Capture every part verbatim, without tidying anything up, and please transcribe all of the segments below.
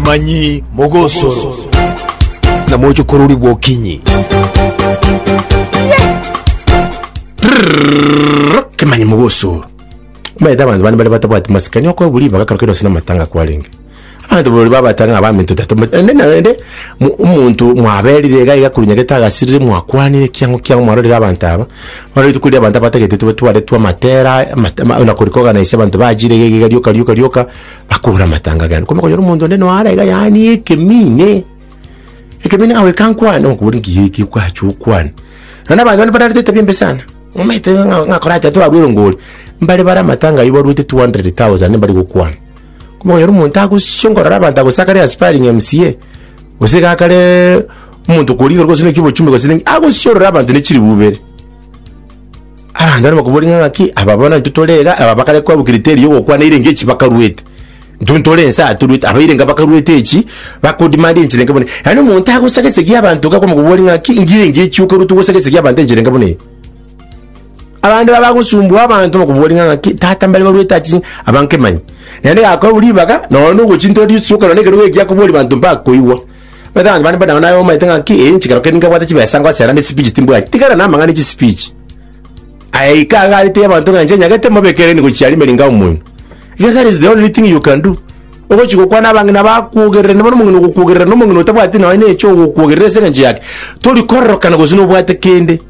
Kemanyi Mogosoro na mochokorori bwokinyi. Kemanyi Mogosoro. Omanyete abanto bande bare batabwati masikani okoe buri bagakora kero sina matanga kwarenge. Abanto bori babatanga abaminto tatu ende naende omonto mwaberire iga iga korwa nyagete agasirire mwakwanire kiang'o kiang'o mwarorire abanto aba. Bono rituko riria abanto abatagete tube twaretwe amatera amate na korikoganise abanto bachire iga iga rioka rioka rioka bakore amatanga agende. Kwamanya konyora omonto onde noara iga yaani ekemine ekemine ng'a goika nkwane okobori nki eki kwacha okwane. Naende abanto bande bararete etabia embe sana, omanyete ng'a ng'a korachake torarwe erongori, mbare bare amatanga aywo barwete two hundred thousand mbari gokwana. Kwamanya konyora omonto agosionkorora abanto agosakare aspiring M C A, gose iga akare omonto korigoro gose naki obochumbe gose naki, agosiorora abanto ne chiribu ibere. Abanto bande bakobori ng'a ng'aki, aba bono intwe tore iga, aba bakare kwabwa criteria ya ogokwana erenge echi bakarwete. Intwe ntore ense aa torwete, abaire enga bakarwete echi, bakodemand enchera enga buna eye. Yaani omonto agosagesegia abanto iga kwamokobori ng'aki, inki erenge echi okorwa togosagesegia abanto enchera enga buna eye. Abande babagosumbua abanto bakobori ng'a ng'aki, tata mbare barwete achi aba nkemanyi. Naende gakoewa ribaga, nonya na ogochintwa risuka nonya ekerogo eki akobori banto mbakoigwa. Omanyete abanto bande mbare naye omanyete ng'aki, eh inche kero kende nkabwate chibesa ngosera ne speech timbwati. Tigana na amang'ana ya chispeech. Aye ika iga arete abanto ng'a inche nyagete mobeke ereni gochia aria emeringa omoino. Iga that is the only thing you can do. Ogochi gokwana abang'ina bakwogerera bono omong'ina ogokwogerera na omong'ina otabwati nonya na echo ogokwogerera ase eng'encho yake, tori kororokana gose nobwate kende.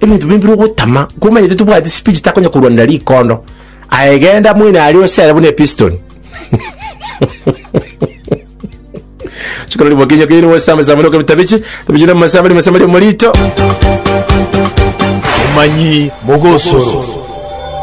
Ebinto binde bire ogotama, komanyete tobwati speech takonya korwanera rikondo. Aye genda mwene aria osere buna episton. Chikoro ribokinyo kiri gosamba samba noka bitabichi, tabichi na masamba ni masamba morito. Kemanyi Mogosoro.